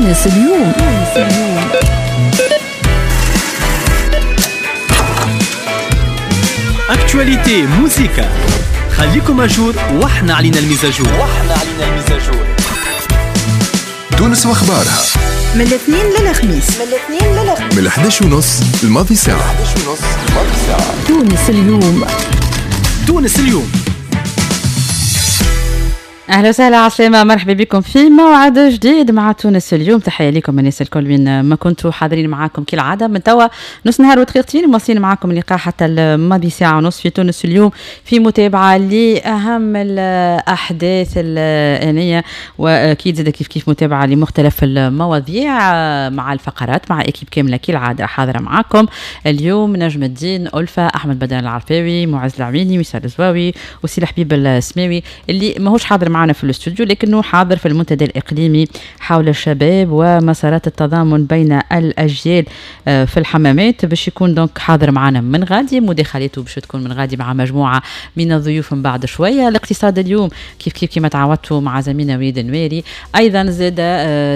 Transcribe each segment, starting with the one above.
تونس اليوم. تونس اليوم. actualité، موزيكا، خليكم à jour واحنا علينا ال mise à jour. واحنا علينا ال mise à jour. تونس واخبارها من الاثنين للخميس، من الاثنين للخميس، من 11 ونص الماضي ساعة. 11 ونص الماضي ساعة. تونس اليوم. تونس اليوم. اهلا وسهلا، عسلامة، مرحبا بكم في موعد جديد مع تونس اليوم. تحية لكم الناس الكل وين ما كنتوا، حاضرين معاكم كالعادة من توا نص نهار ودقيقتين، مواصلين معاكم اللقاء حتى الماضي ساعة ونص في تونس اليوم، في متابعة لأهم الأحداث الآنية، وأكيد زاد كيف كيف متابعة لمختلف المواضيع مع الفقرات مع équipe كاملة كالعادة حاضرة معاكم اليوم: نجم الدين ألفة، أحمد بدر العرفاوي، معز العويني، وسال الزواوي، وسي الحبيب السماوي اللي ماهوش حاضر معنا في الاستوديو لكنه حاضر في المنتدى الإقليمي حول الشباب ومسارات التضامن بين الأجيال في الحمامات. باش يكون donc حاضر معنا من غادي، مداخلته باش تكون من غادي مع مجموعة من الضيوف من بعد شوية. الاقتصاد اليوم كيف كيف كما تعودتوا مع زميلنا وليد النويري. أيضا زاد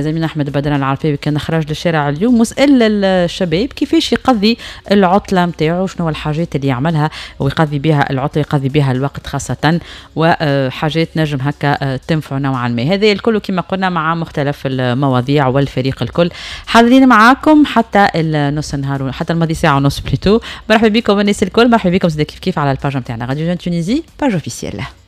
زميلنا أحمد بدر العرفاوي كان خرج للشارع اليوم وسأل الشباب كيفاش يقضي العطلة نتاعو، شنو الحاجات اللي يعملها ويقضي بها العطلة، يقضي بها الوقت خاصة، وحاجات نجم هكا تنفع نوعا ما. هذا الكل كما قلنا مع مختلف المواضيع والفريق الكل حاضرين معاكم حتى النص النهار، حتى الماضي ساعة ونص plutôt. مرحبا بكم الناس الكل، مرحبا بكم زاد كيف كيف على ال page نتاعنا Radio Tunisie، page officielle.